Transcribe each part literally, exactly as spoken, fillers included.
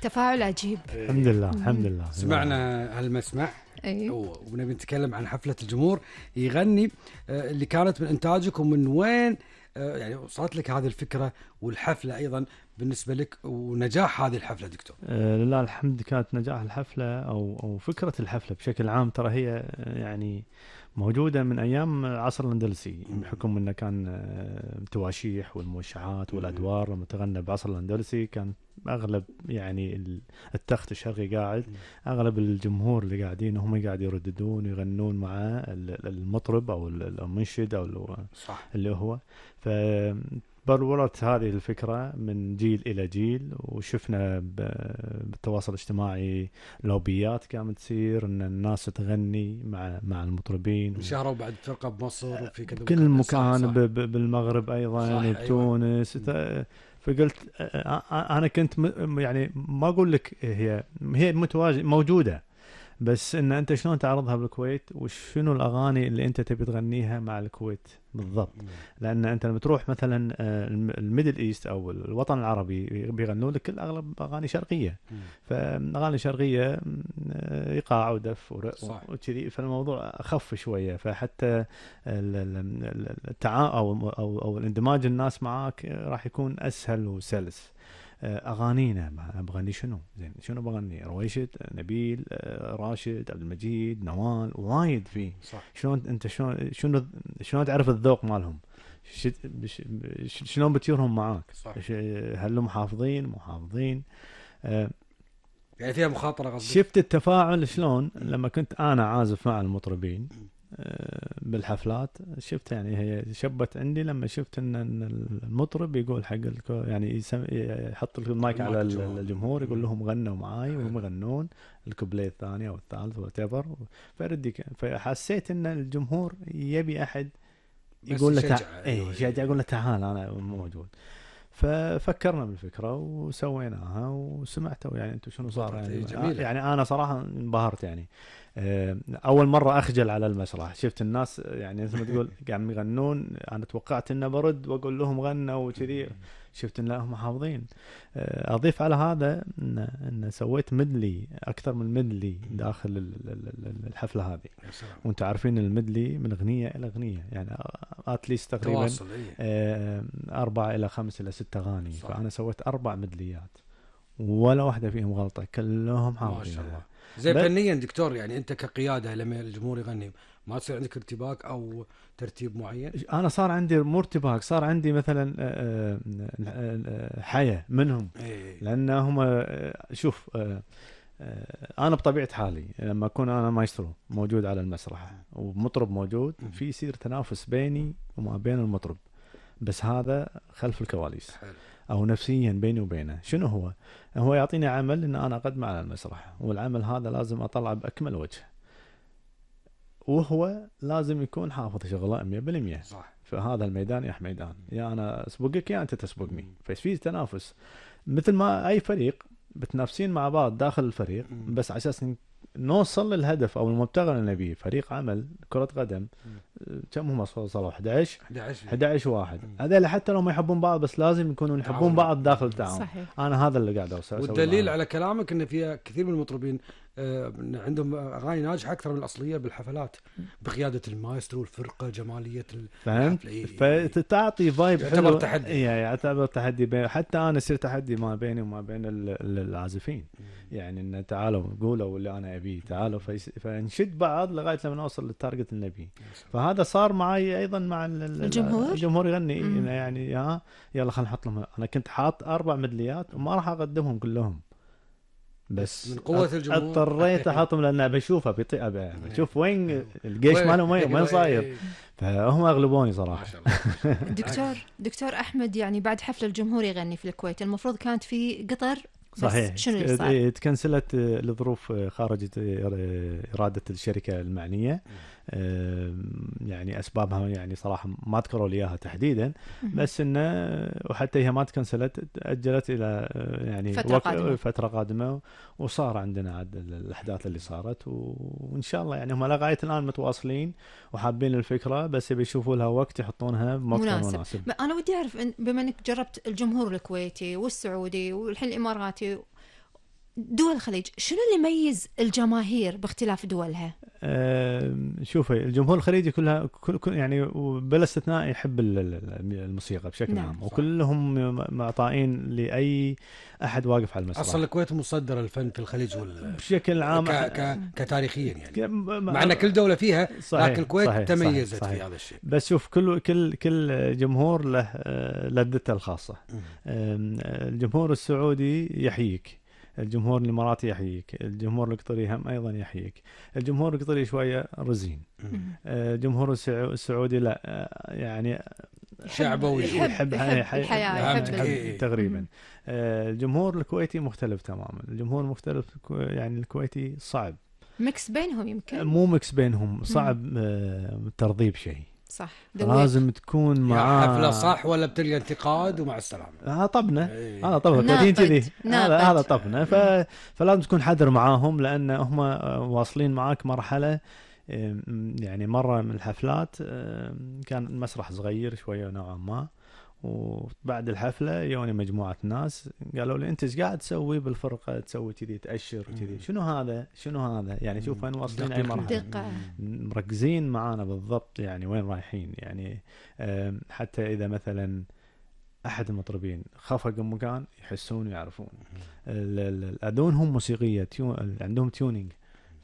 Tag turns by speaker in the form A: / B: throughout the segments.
A: تفاعل عجيب.
B: الحمد لله الحمد لله.
C: سمعنا هالمسمع
A: أيوه.
C: ونبي نتكلم عن حفلة الجمهور يغني اللي كانت من إنتاجك، ومن وين يعني وصلت لك هذه الفكرة، والحفلة أيضا بالنسبة لك ونجاح هذه الحفلة دكتور؟
B: آه لله الحمد. كانت نجاح الحفلة أو أو فكرة الحفلة بشكل عام ترى هي يعني موجودة من أيام عصر الأندلسي، بحكم أنه كان التواشيح والموشعات والأدوار لما تغنى بعصر الأندلسي كان أغلب يعني التخت الشرقي قاعد، أغلب الجمهور اللي قاعدين هم قاعد يرددون ويغنون مع المطرب أو المنشد أو اللي هو. ف برورت هذه الفكرة من جيل إلى جيل، وشفنا بالتواصل الاجتماعي لوبيات كانت تصير إن الناس تغني مع مع المطربين،
C: شهروا بعد فرقة بمصر وفي
B: كل مكان بالمغرب أيضا بتونس. أيوة. فقلت أنا كنت يعني ما أقول لك هي هي متواجدة موجودة، بس إن أنت شلون تعرضها بالكويت وشنو الأغاني اللي أنت تبي تغنيها مع الكويت بالضبط. لأن أنت لما تروح مثلا الميدل إيست أو الوطن العربي بيغنوا لك كل أغلب أغاني شرقية، فأغاني شرقية إيقاع ودف وكذي، فالموضوع أخف شوية. فحتى التعا أو أو أو الاندماج الناس معاك راح يكون أسهل وسلس. أغانينا بغني شنو زين، شنو بغني؟ رويشد، نبيل، راشد، عبد المجيد، نوال، وايد فيه. شلون أنت شلون شنو شلون تعرف الذوق مالهم؟ شلون بتيرهم معاك؟ هل هم حافظين مو حافظين؟
C: يعني فيها مخاطرة قصدي.
B: شفت التفاعل شلون لما كنت أنا عازف مع المطربين بالحفلات، شفت يعني هي شبت عندي لما شفت ان المطرب يقول حق يعني يحط المايك على الجمهور يقول لهم غنوا معاي وهم يغنون الكوبليه الثاني او الثالث وتيفر، فردي فحسيت ان الجمهور يبي احد يقول له تعال، اي شجع يقول له تعال انا موجود. ففكرنا بالفكره وسويناها وسمعتوا يعني انتم شنو صار يعني. يعني انا صراحه انبهرت يعني. اول مره اخجل على المسرح، شفت الناس يعني مثل ما تقول قاعدين يغنون، انا توقعت انه برد واقول لهم غنوا وكذي، شفت ان لا هم حافظين. اضيف على هذا ان ان سويت ميدلي اكثر من ميدلي داخل الحفله هذه، وانتم عارفين الميدلي من اغنيه الى اغنيه يعني اتليست تقريبا اربعه الى خمس الى ست اغاني، فانا سويت اربع ميدليات ولا واحده فيهم غلطه، كلهم حافظين. ما شاء الله.
C: زي فنيا دكتور يعني انت كقياده لما الجمهور يغني ما تصير عندك ارتباك او ترتيب معين؟
B: انا صار عندي مرتباك، صار عندي مثلا حياه منهم، لانهم شوف انا بطبيعه حالي لما اكون انا مايسترو موجود على المسرح ومطرب موجود، في يصير تنافس بيني وما بين المطرب، بس هذا خلف الكواليس او نفسيا بيني وبينه. شنو هو هو يعطيني عمل ان انا اقدم على المسرح، والعمل هذا لازم اطلع باكمل وجه، وهو لازم يكون حافظ شغله مية بالمية.
C: صح.
B: فهذا الميدان يا حميدان، يا انا اسبقك يا انت تسبقني. ففي تنافس مثل ما اي فريق بتنافسين مع بعض داخل الفريق،
C: مم.
B: بس على اساس نوصل للهدف او المبتغى اللي نبيه. فريق عمل كرة قدم كم هم وصلوا احد عشر احد عشر واحد، هذول حتى لو ما يحبون بعض بس لازم يكونوا يحبون بعض داخل التعاون. انا هذا اللي قاعد اوصل.
C: والدليل على كلامك ان في كثير من المطربين عندهم اغاني ناجحه اكثر من الاصليه بالحفلات بقياده المايسترو والفرقه جماليه
B: الحفله، فتعطي فايب حلو.
C: يعتبر تحدي،
B: يعتبر تحدي بين حتى انا يصير تحدي ما بيني وما بين العازفين، يعني ان تعالوا قولوا واللي انا ابيه تعالوا، فنشد بعض لغايه لما نوصل للتارجت النبي. فهذا صار معي ايضا مع
A: الجمهور.
B: الجمهور يغني يعني ها يلا خلينا نحط لهم. انا كنت حاط اربع ميدليات وما راح اقدمهم كلهم، بس
C: من قوة الجمهور
B: اضطريت احطهم لان بشوفها بيطيء بشوف وين الجيش ماله وين وين صاير، فهم اغلبوني صراحه.
A: دكتور دكتور احمد، يعني بعد حفل الجمهور يغني في الكويت المفروض كانت في قطر،
B: صحيح
A: شنو اللي صار؟
B: تكنسلت لظروف خارج إرادة الشركة المعنية، يعني أسبابها يعني صراحة ما ذكروا لي إياها تحديدا، بس إنه وحتى هي ما تكنسلت، تأجلت إلى يعني
A: فترة قادمة.
B: فترة قادمة وصار عندنا عاد الأحداث اللي صارت، وإن شاء الله يعني هم لغاية الآن متواصلين وحابين الفكرة، بس بيشوفوا لها وقت يحطونها بمكان مناسب, مناسب.
A: أنا ودي أعرف بما أنك جربت الجمهور الكويتي والسعودي والحين الإماراتي دول الخليج شنو اللي يميز الجماهير باختلاف دولها؟
B: آه، شوفي الجمهور الخليجي كلها كل كل- يعني بلا استثناء يحب ال- ال- الموسيقى بشكل
A: نعم،
B: عام،
C: صح.
B: وكلهم معطائين لاي احد واقف على المسرح.
C: اصلا الكويت مصدره الفن في الخليج وال
B: بشكل عام
C: ك... ك... كتاريخيا يعني،
B: ك-
C: مع ان كل دوله فيها،
B: صحيح،
C: لكن الكويت
B: صحيح،
C: تميزت
B: صحيح،
C: في
B: صحيح.
C: هذا الشيء.
B: بس شوف كل كل كل جمهور له آه، لذته الخاصه.
C: مم.
B: آم، الجمهور السعودي يحييك، الجمهور الاماراتي يحييك، الجمهور القطري هم ايضا يحييك. الجمهور القطري شويه رزين،
C: مم.
B: آه، الجمهور السعو- السعودي لا، آه، يعني
C: شعبوي.
A: يحب,
B: يحب
A: يحب الحياة،
C: فهمت
A: يحب
C: كيف.
A: ال-
C: إيه.
B: تقريبا.
A: مم.
B: آه، الجمهور الكويتي مختلف تماما، الجمهور مختلف كو- يعني الكويتي صعب،
A: ميكس بينهم يمكن.
B: مو مكس بينهم، صعب آه، ترضيب شيء،
A: صح، ذويق.
B: لازم تكون
C: يا
B: معاه
C: حفله صح ولا بتلقى انتقاد ومع السلامه.
B: هذا طبنا،
C: إيه.
B: هذا طبنا
A: ناقد،
B: كويتيين كذي، هذا
A: ناقد.
B: هذا طبنا. ف... فلازم تكون حذر معاهم، لان هم آه، واصلين معاك مرحله. آم، يعني مره من الحفلات آم، كان المسرح صغير شويه نوعا ما، وبعد الحفله يوني مجموعه ناس قالوا لي انت ايش قاعد تسوي بالفرقه، تسوي كذي تاشر وكذي، شنو هذا شنو هذا يعني شوف وين واصلين اي
C: دقيق.
B: مرحله،
A: دقة.
B: مركزين معانا بالضبط يعني وين رايحين. يعني آم، حتى اذا مثلا احد المطربين خفق مكان يحسون ويعرفون. ال- ال- الاذونهم موسيقيه، تيو... عندهم تيونينج،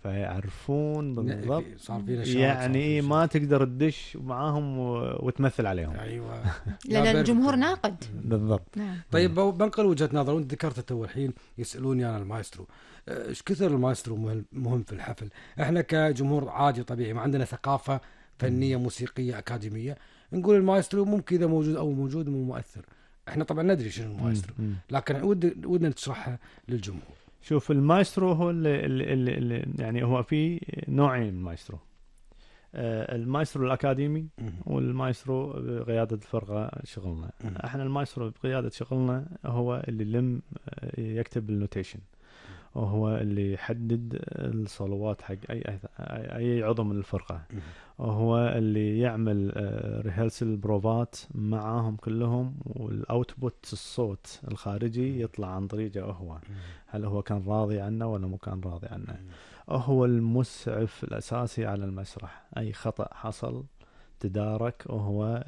B: فيعرفون بالضبط.
C: صار في نشاط،
B: يعني
C: صار في
B: ما تقدر تدش معاهم و... وتمثل عليهم.
C: شيء. ايوه.
A: لان
C: لا،
A: الجمهور
C: بيرفكت.
A: ناقد.
B: بالضبط.
A: نعم.
C: طيب بنقل وجهه نظر، وانت ذكرت تو الحين يسالوني انا المايسترو، ايش كثر المايسترو مهم- مهم في الحفل؟ احنا كجمهور عادي طبيعي ما عندنا ثقافه فنيه موسيقيه اكاديميه، نقول المايسترو ممكن اذا موجود او موجود مو مؤثر. احنا طبعا ندري شنو المايسترو،
B: مم.
C: لكن ود ودنا تشرحها للجمهور.
B: شوف المايسترو هو اللي, اللي, اللي, اللي يعني هو في نوعين من المايسترو، آه، المايسترو الأكاديمي والمايسترو بقيادة الفرقة شغلنا.
C: مم.
B: احنا المايسترو بقيادة شغلنا هو اللي لم آه، يكتب النوتيشن، وهو اللي يحدد الصلوات حق أي أي- أي عضو من الفرقة، وهو اللي يعمل ريهرسل بروفات معاهم كلهم، والاوتبوت الصوت الخارجي يطلع عن طريقه هو، هل هو كان راضي عنه ولا مو كان راضي عنه. هو المسعف الأساسي على المسرح، أي خطأ حصل تدارك، وهو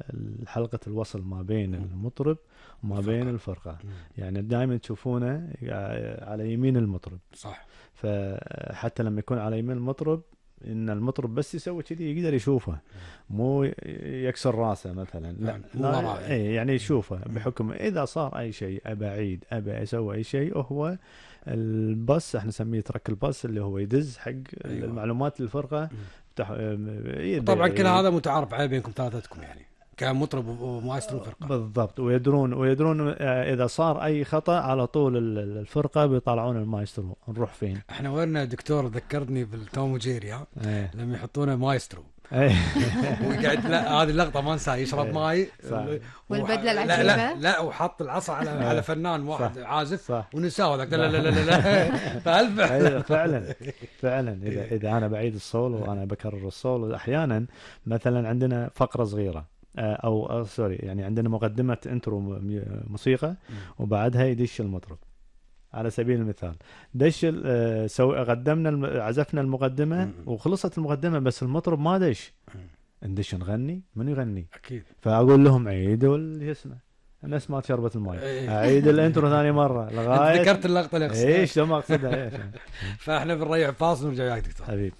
B: حلقة الوصل ما بين المطرب وما بين الفرقة. يعني دائما تشوفونه على يمين المطرب،
C: صح.
B: فحتى لما يكون على يمين المطرب ان المطرب بس يسوي كذي يقدر يشوفه، مو يكسر راسه مثلا، لا, لا اي يعني يشوفه، بحكم اذا صار اي شيء ابى اعيد ابى اسوي اي شيء، وهو الباص احنا نسميه ترك الباص، اللي هو يدز حق أيوة. المعلومات للفرقه.
C: طبعا كل هذا متعارف عليه بينكم ثلاثتكم يعني كمطرب ومايسترو فرقه.
B: بالضبط، ويدرون ويدرون اذا صار اي خطا على طول الفرقه بيطلعون المايسترو نروح فين.
C: احنا وين دكتور ذكرني بالتوم وجيري ها
B: ايه.
C: لما يحطونه مايسترو
B: ايه.
C: ويقعد، لا هذه اللقطه ما انساها، يشرب
B: ايه.
C: ماي
A: والبدله العجيبه،
C: لا لا, لا وحط العصا على على فنان واحد
B: صح.
C: عازف
B: صح.
C: ونساه ذاك، لا لا لا لا, لا. فعلا
B: فعلا فعلا اذا اذا انا بعيد الصول وانا بكرر الصول، احيانا مثلا عندنا فقره صغيره او, أو سوري يعني عندنا مقدمه انترو موسيقى وبعدها يدش المطرب. على سبيل المثال دش آه سو قدمنا عزفنا المقدمه وخلصت المقدمه بس المطرب ما دش، ندش نغني، من يغني؟
C: اكيد.
B: فاقول لهم عيدوا اللي اسمه الناس ما شربت الماء، اعيد الانترو ثاني مره لغايه
C: ذكرت اللقطه اللي اقصدها.
B: ايش ما اقصدها ايش.
C: فاحنا بنريح فاصل ونرجع وياك دكتور
B: حبيبي.